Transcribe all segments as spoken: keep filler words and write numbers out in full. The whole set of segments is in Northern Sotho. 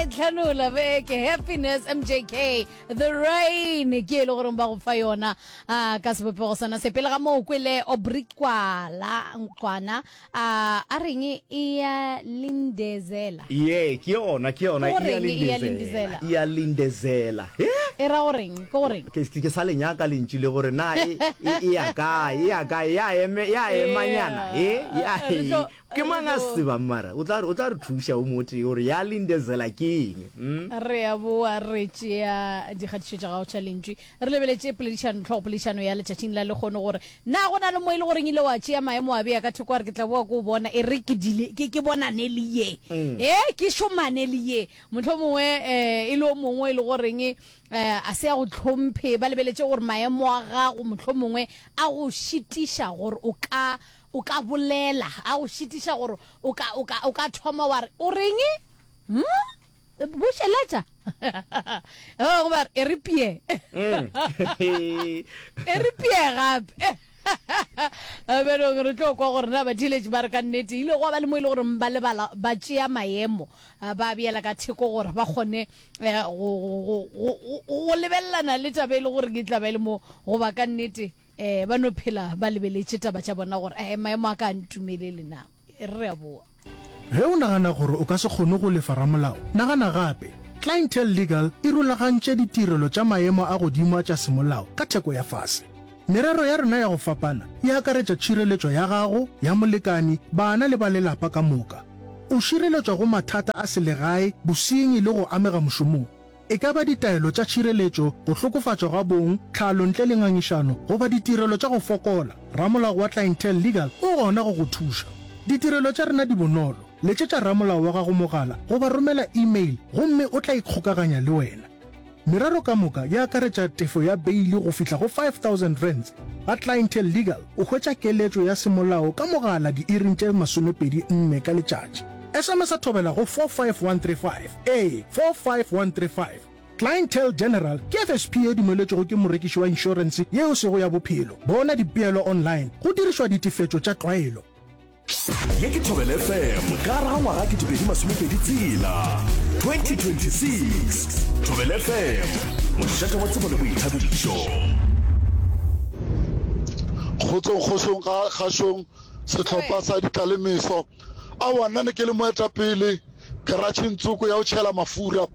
tlhanola beke happiness mjk the rain ke e le goreng ba go fa yona a ka sebopego sona se pele ga moo kwele obrikwala nkwana a a reng e ya lindezela ye ke yona ke yona Ke goreng e ya lindezela? e ya lindezela Eh? e ra goreng ke goreng ke ke sa le nyaka lentšu le gore na e e e ya kae e ya kae ya eme ya emanyana e ya Re tlo- ke mang a re tlo- tsebang mara o tla re o tla re thuša o motee gore ya lindezela ke eng mm? re a boa re tšea dikgatišo tša gago tša lentšu re lebeletše poledišano tlhogopoledišano ya letšatšing la lekgono gore na go na le mo e le goreng ile wa tšea maemo a bea ka thoko a re ke tla boa ko o bona e re ke dile ke ke bonane le ye e ke šomane le ye motlho mongwe um e le o mongwe e le goreng um a se ya go tlhomphe ba lebeletše gore maemo a gago motlho mongwe a go šitiša gore o ka o ka bolela a go šitiša gore o ka o ka o ka thoma wa re o reng hmm? bušeletša Oh, goba e re pie Mm. e re pie gape benong re tlo kwa gore na batheeletši ba re ka nnete ile go ba le mo e le gore ba lebala ba tšea maemo ah, ba beela ka theko gore ba kgone eh, go go- go- go- go lebelelana le taba e le gore ke tla ba e le mo goba ka nnete um ba no phela ba lebeletše taba tša bona gore um maemo a ka a ntumelele na E re re a boa Ge o nagana gore o ka se kgone go lefa ramolao, nagana gape. Clientele Legal e rulagantše ditirelo tša maemo a godimo a tša semolao ka theko ya fase. Merero ya rena ya go fapana e akaretša tšhireletšo ya gago, ya molekani, bana le ba lelapa ka moka. O šireletšwa go mathata a selegae, bosenyi le go amega mošomong. E ka ba ditaelo tša tšhireletšo, go hlokofatšwa ga bong, tlhalo ntle le ngangišano, goba ditirelo tša go fokola, ramolao wa Clientele Legal o gona go go thuša. Ditirelo tša rena di bonolo. Letšetša ramolao wa gago mogala goba romela email gomme o tla ikgokaganya le wena. Merero ka moka e akaretša tefo ya beili go fihla go five thousand rands. Ga Clientele Legal o hwetša keletšo ya semolao ka mogala diiring tše masomepedi nne ka letšatši. SMS a thobela go four five one three five, ee, four five one three five. Clientele General ke F S P ye dumeletšwego ke morekiši wa inšorense ye e sego ya bophelo. Bona dipeelo online go dirišwa ditefetšo tša tlwaelo. Ye ke Thobela F M ka gare ga ngwaga ketepedi masomepedi tshela, twenty twenty-six. Thobela F M, mošate wa tsebo le boithabišo. Kgotsong kgošong ga kgašong sehlopha sa ditlalemeso. Aowa nna ne ke le moetapele karatšheng tsoko ya go tšhela mafura.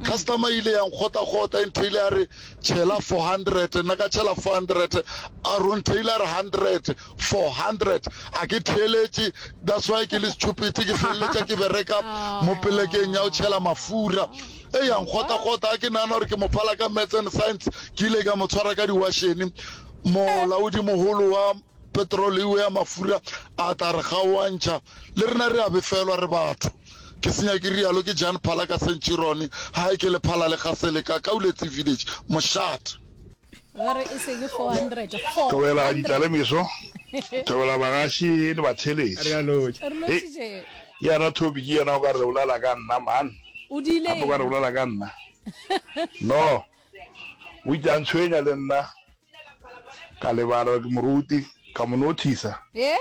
Customer e ile ya nkgotakgota e ntheile ya re tšhela four hundred, nna ka tšhela four hundred, a re o ntheile a re hundred, four hundred. A ke theeletše, that's why ke le stupid ke feleletša ke bereka mo polekeng ya go tšhela mafura. E ya nkgotakgota a ke nagana gore ke mo phala ka maths and science, ke ile ka mo tshwara ka diwašene. Molaodi mogolo wa petrol ya mafura a tla re gaoantšha le rena re a befelwa re batho. Ke senya ke rialo ke Jan Phala ka Centurion hae ke le phala le gasele ka Kauletsi village mošate. Ba re e seng four hundred. Thobela ditlalemeso, thobela bagaši le batheeletši. Re a lotšha. Re lotšhitše. Yena Toby ke yena o ka re bolela ka nna man. O diile Gape o ka re eng? bolela ka nna. No, o itse a ntshwenya le nna ka lebala ke moruti ka mo notice-a. Ye?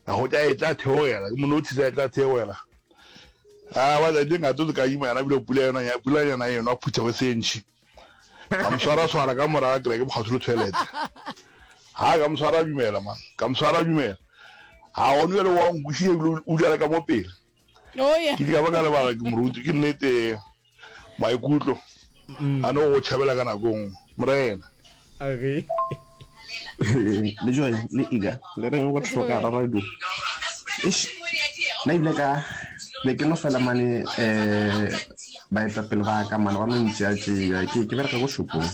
Ka hwetša e tla theogela, ke mo notice-a e tla theogela. A ba tšatši ngato le ka ima yena bile pula yona ya pula yona eno a phuthego e se ntši. Ka mo swara swara ka morago ke re ke mokgatho le toilet. Ha ka mo swara dumela man, ka mo swara dumela. Ha gone jwale wa nkwešiša ebile o dula le ka mo pele. Oh yeah. Ke ile ka ba ka lebala ke moruti ke nnete maikutlo a no go tšhabela ka nako e nngwe. Morena. Age. Le Joy le Iga le reng go hloka radio. Eish, nna ebile ka be ke no fela mane um baetapele ba ka mane ba no ntšea-tšea ke ke bereka ko shopong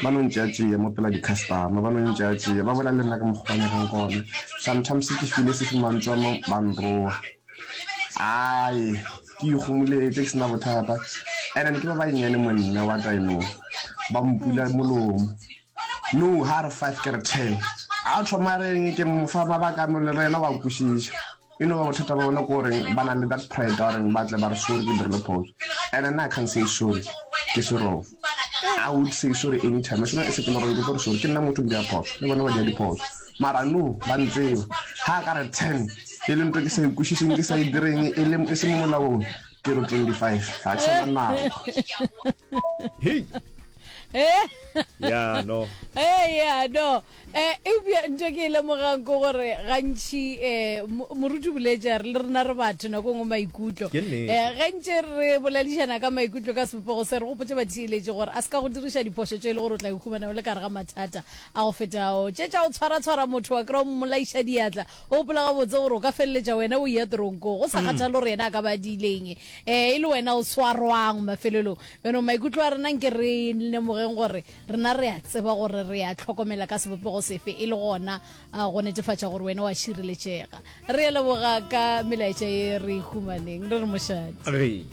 ba no ntšea-tšea mo pela di-customer ba no ntšea-tšea ba bolela le nna ka mokgwa ba nyakang gona. Sometimes ke file se mantswe a mo ba nroga ai ke ikgomoletše ke sena bothata, and then ke ba bannyane mo nna, what I know, ba mpula molomo. No ha re five ke re ten, a thoma reng ke mo fa mabaka no le rena wa kwešiša. E no ba bothata ba bona ke goreng ba na le that pride ya goreng ba tle ba re sorry ke dirile phoso, and nna I can't say sorry ke se wrong. I would say sorry anytime as soon as ke le gore ke tlo re sorry, ke nna motho ke dira phoso le bona ba dira diphoso, mara no ba ntseba ha ka re ten e le ntho ke sa e kwešišeng ke sa e direng e le e se mo molaong. Ke re twenty five ga ke sa na nako. Hei. Eh? Ya no. Eh, ya no. Eh, eupša ntho ke e lemogang ke gore gantši um moruti o boletše a re le rena re batho nako nngwe maikutlo. Ke nnete. Eh, ge ntše re boledišana ka maikutlo ka sebopego se re gopotše batheeletši gore a se ka go diriša diphošo tše e le gore o tla ikhumana o le ka gare ga mathata a go feta ao. Tše tša go tshwaratshwara motho wa kry-a o mmolaiša diatla, o gopola gabotse gore o ka feleletša wena o eya toronkong go sa kgathale gore yena a ka ba a diileng, eh, e le wena o swarwang mafelelong. Bjanong maikutlo a rena nke re lemogeng gore rena re a tseba gore re a hlokomela ka sebopego sefe e le gona go netefatša gore wena wa šireletšega. Re a leboga ka melaetša ye re e humaneng. Re re mošate. Re.